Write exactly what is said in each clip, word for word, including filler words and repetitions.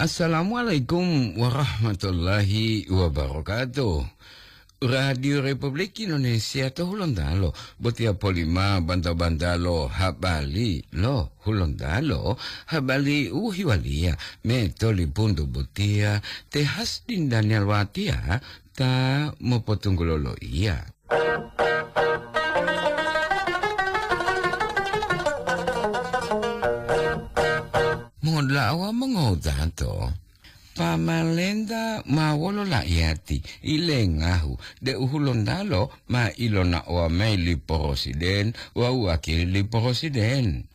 Assalamualaikum warahmatullahi wabarakatuh. Radio Republik Indonesia to Hulontalo, botiya polima banta-bantalo habari lo Hulontalo, habari u hiwaliya me tolipuntu botiya te Hasdin Daniel Watiya ta mopotunggulo loiya. Mongoda'a wawu mongotato, pamalenta ma wolo la'iyati ilengahu deu Hulontalo ma ilonaowa mayi li porosiden wawu wakili li porosiden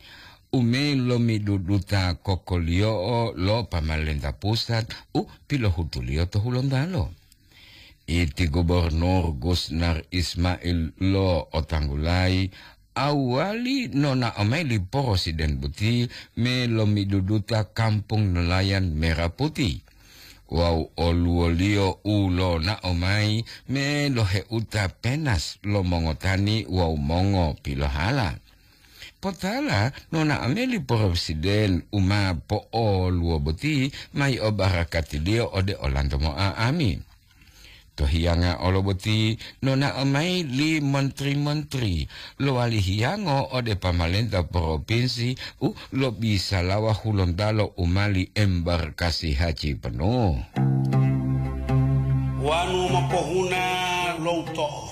u me lomiduduta kokoliyo'o lo pamalenta pusat u pilohutuliyo to Hulontalo. Iti Gubernur Gusnar Ismail lo otanggulayi awali nonao mayi li porosiden boti me lomiduduta kampung nelayan Merah Putih wawu oluwoliyo u lonao mayi me loheuta penas lo mongotani wawu mongopilohala. Potala nonao mayi li porosiden u ma po'oluwo boti mayi obarakatiliyo ode olanto mo'a'ami. To hiyanga olo boti nonao mayi li montri-montri lowali hiyango ode pamalenta propinsi u lobisalawa Hulontalo u mali embarkasi haji penuh. Wanu mopohuna lo uto'o,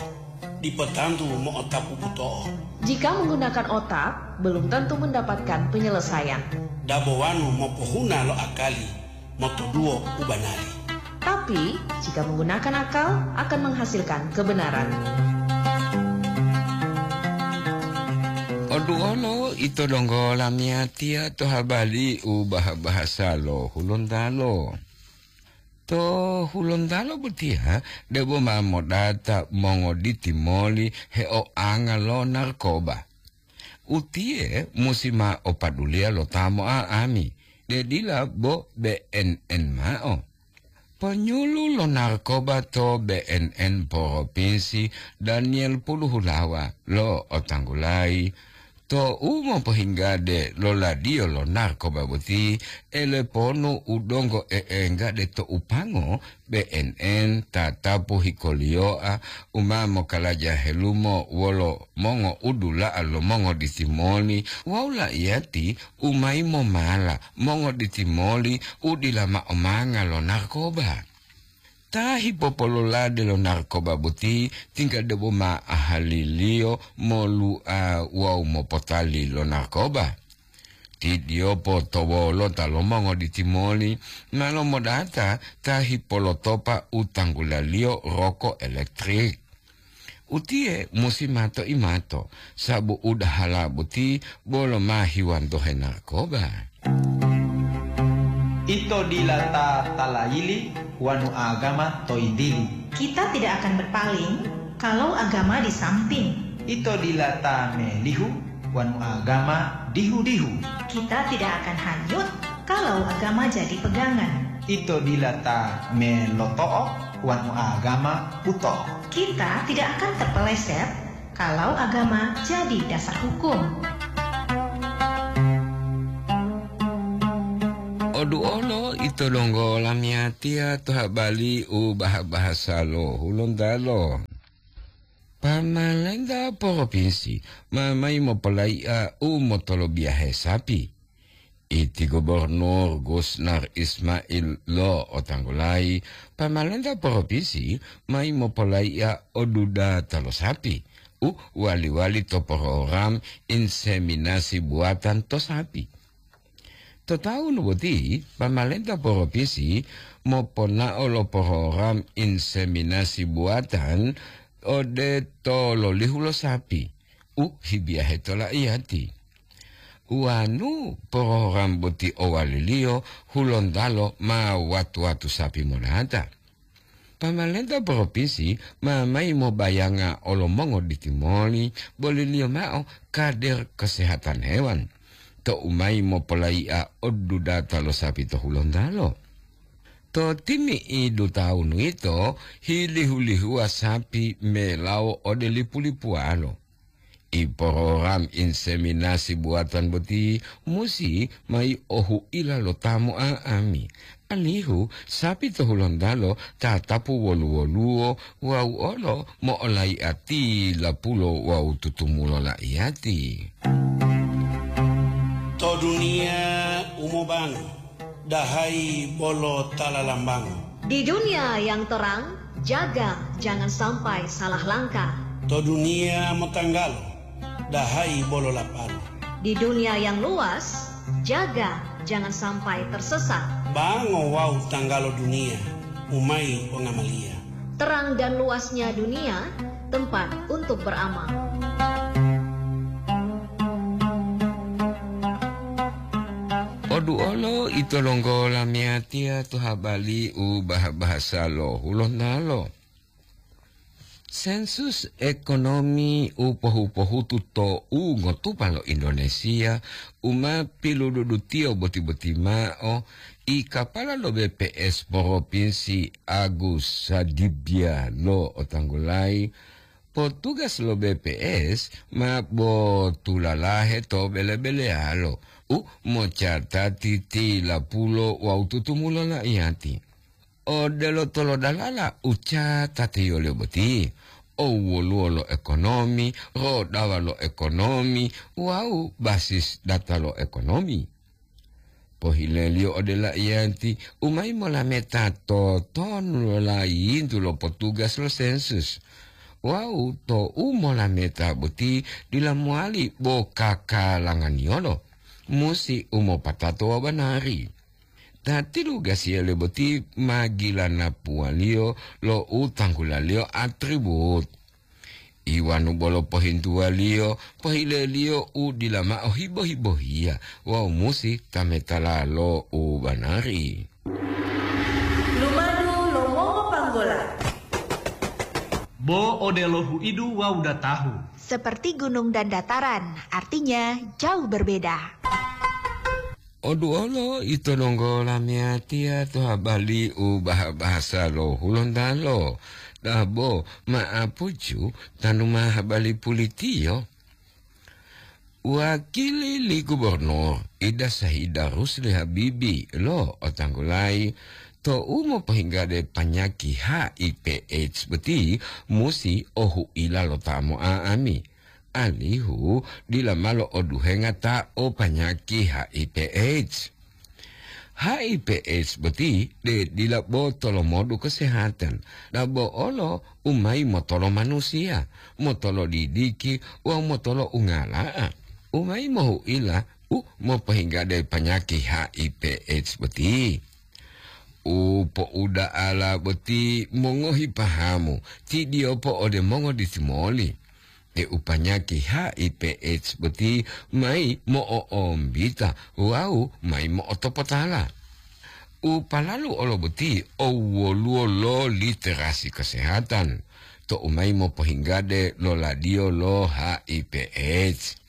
dipo tantu mo'otapu buto'o. Jika menggunakan otak, belum tentu mendapatkan penyelesaian. Dabo wanu mopohuna lo akali, motoduwo u banari. Tapi, jika menggunakan akal, akan menghasilkan kebenaran. Oduolo ito donggo lamiyatiya to habari u baha-bahasa lo Hulontalo. To Hulontalo botiya debo ma modata mongoditi moli heoanga lo narkoba. Utiye musi ma opaduliya lo ta mo'a'ami, de dila bo B N N mao. Ponyulu lo narkoba to B N N Propinsi Daniel Puluhulawa lo otanggulayi to u mopohinggade lo ladiyo lo narkoba boti, eleponu u donggo e'enggade to upango B N N tatapu hikoliyoa u ma mokalaja helumo wolo mongoudula'a lo mongoditimoli wawu la'iyati u mayi momala mongoditimoli u dila ma'o manga lo narkoba. Ta hipopololade lo narkoba boti tingga debo ma ahaliliyo molu'a wawu mopotali lo narkoba. Tidiyopo to wolota lo mongoditimoli ma lomodata ta hipolotopa u tanggulaliyo roko elektrik. Utiye musi mato-imato, sabu udahala boti bolo ma hiwantohe narkoba. Ito dila ta talayili wanu agama to yintili. Kita tidak akan berpaling kalau agama di samping. Ito dila ta melihu wanu agama dihu-dihu. Kita tidak akan hanyut kalau agama jadi pegangan. Ito dila ta meloto'o wanu agama buto'o. Kita tidak akan terpeleset kalau agama jadi dasar hukum. Oduolo ito donggo lamiyatiya to habari u baha-bahasa lo Hulontalo. Pamalenta propinsi ma mayi mopolai'a u motolobiyahe sapi. Iti Gubernur Gusnar Ismail lo otanggulayi, pamalenta propinsi mayi mopolai'a o dudata lo sapi u wali-wali to program inseminasi buatan to sapi. To taunu boti, pamalenta propinsi moponao lo program inseminasi buatan ode tololihu lo sapi u hibiyahe to la'iyati. Wanu program boti owaliliyo Hulontalo ma watu-watu sapi monata. Pamalenta propinsi ma mayi mobayanga olo mongoditimoli boliliyo mao kader kesehatan hewan, tou mayi mopolai'a o dudata lo sapi to Hulontalo. To timi'idu tawunu yito, hilihu-lihuwa sapi melawo ode lipu-lipuwalo. I porogram inseminasi buatan boti musi mai ohuila lo ta mo'a'ami, alihu sapi to Hulontalo tatapu wolu-woluwo wawu olo mo'olai'ati lapulo wawu tutumulo la'iyati. To duniya u mobango, dahayi bolo ta lalambango. Di dunia yang terang, jaga jangan sampai salah langkah. To duniya motanggalo, dahayi bolo lapalo. Di dunia yang luas, jaga jangan sampai tersesat. Bango wawu tanggalo duniya, umayi pongamaliya. Terang dan luasnya dunia, tempat untuk beramal. Poduolo ito longgo lamiyatiya to habali u baha-bahasa lo Hulontalo. Sensus ekonomi u pohu-pohutu to u ngotupa lo Indonesia u ma pilududutiyo boti-boti ma'o, i kapala lo B P S Propinsi Agus Sadibya lo otanggulayi, potugas lo B P S ma botulalahe to bele-beleyalo u mocatati tilapulo wawu tutumulo la'iyati. Odelo tolodalala u catatiyoliyo boti, owoluwo lo ekonomi, rodawa lo ekonomi, wawu basis data lo ekonomi. Pohileliyo ode la'iyati u mayi molameta totonu lo layintu lo potugas lo sensus. Wawu tou molameta boti dila mowali bo kakalanganiyolo, musi u mopatato wawu banari. Ta tilugasiyaliyo boti ma gilanapuwaliyo lo u tanggulaliyo atribut. Iwanu bolo pohintuwaliyo, pohileliyo u dila mao hibo-hibohiya wawu musi tametala lo u banari. Lumadu lo mongopanggola. Bo odelo huidu wawu datahu. Seperti gunung dan dataran, artinya jauh berbeda. Oduolo ito donggo lamiyatiya to habali u baha-bahasa lo Hulontalo, dabo ma'apucu tanu ma habali pulitiyo. Wakili li gubernur Ida Sahida Rusli Habibi lo otanggulayi tou mopohinggade panyaki H I V AIDS boti musi ohuila lo ta mo'a'ami. Alihu dila malo oduhenga ta o panyaki H I V AIDS. H I V AIDS boti de dila bo tolomodu kesehatan, dabo olo u mayi motolo manusiya, motolo didiki wawu motolo ungala'a, u mayi mohuila u mopohinggade panyaki H I V AIDS boti. U po'uda'ala boti mongohi pahamu, tidiyopo ode mongoditimoli. Deu panyaki H I V AIDS boti mayi mo'o'ombita wawu mayi mo'otopotala. U palalu olo boti owoluwo lo literasi kesehatan tou mayi mopohinggade lo ladiyo lo H I V AIDS.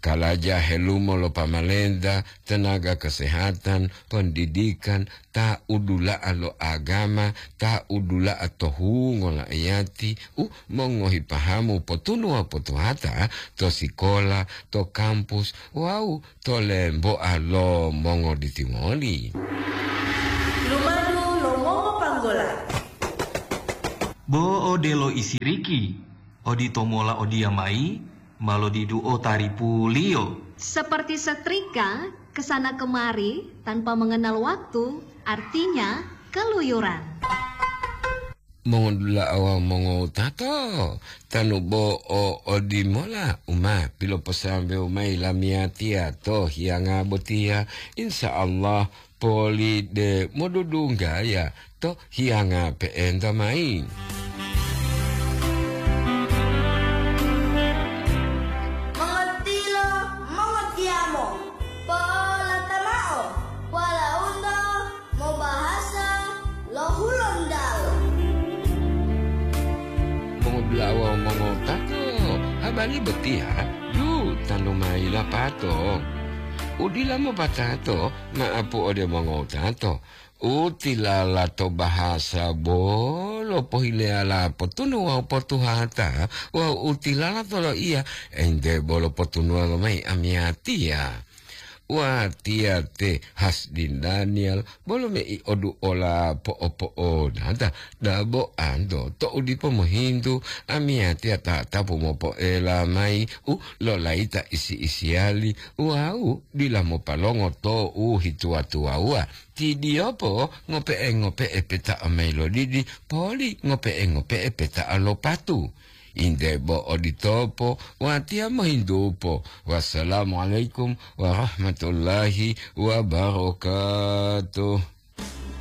Kalaja helumo lo pamalenta, tenaga kesehatan, pendidikan, ta udula'a lo agama, ta udula'a to hungo la'iyati, u mongohi pahamu potunuwa potuhata to sikola, to kampus, wawu to lemboa lo mongoditimoli. Lumadu lo mongopanggola. Bo odelo isiriki, oditomola odiya mayi, ma lodiduo taripuliyo. Seperti setrika, kesana kemari tanpa mengenal waktu, artinya keluyuran. Mongodula'a wawu mongowutato, tanu bo o odimola u ma piloposambewu mayi lamiyatiya to hiyanga botiya, insya Allah poli de modudunggaya to hiyanga pe'enta mayi. Mongotilo, mongotiyamo, po'olata mao, walaundo mobahasa lo Hulontalo. Mongodula'a wawu mongotato, habari botiya yu tanu mayi lapato. Udila mopatato, ma'apu ode mongotato. U tilala to bahasa bolo pohileyala potunu wawu potuhata, wawu u tilala to loiya, ente bolo potunuwa lomayi amiyatiya. Watiya te Hasdin Daniel, bolo mei oduola po'opo'onata, dabo anto to'u dipo mohintu, amiyatiya tatapu mopoela mayi u lolayita isi-isiyali, wawu dila mopalongo to u hituwa-tuwawuwa. Tidiyopo ngope'e-ngope'e peta'a mayi lodidi, poli ngope'e-ngope'e peta'a lo patu. Inde bo oditopo, watiya mohintupo. Wassalamualaikum warahmatullahi wabarakatuh.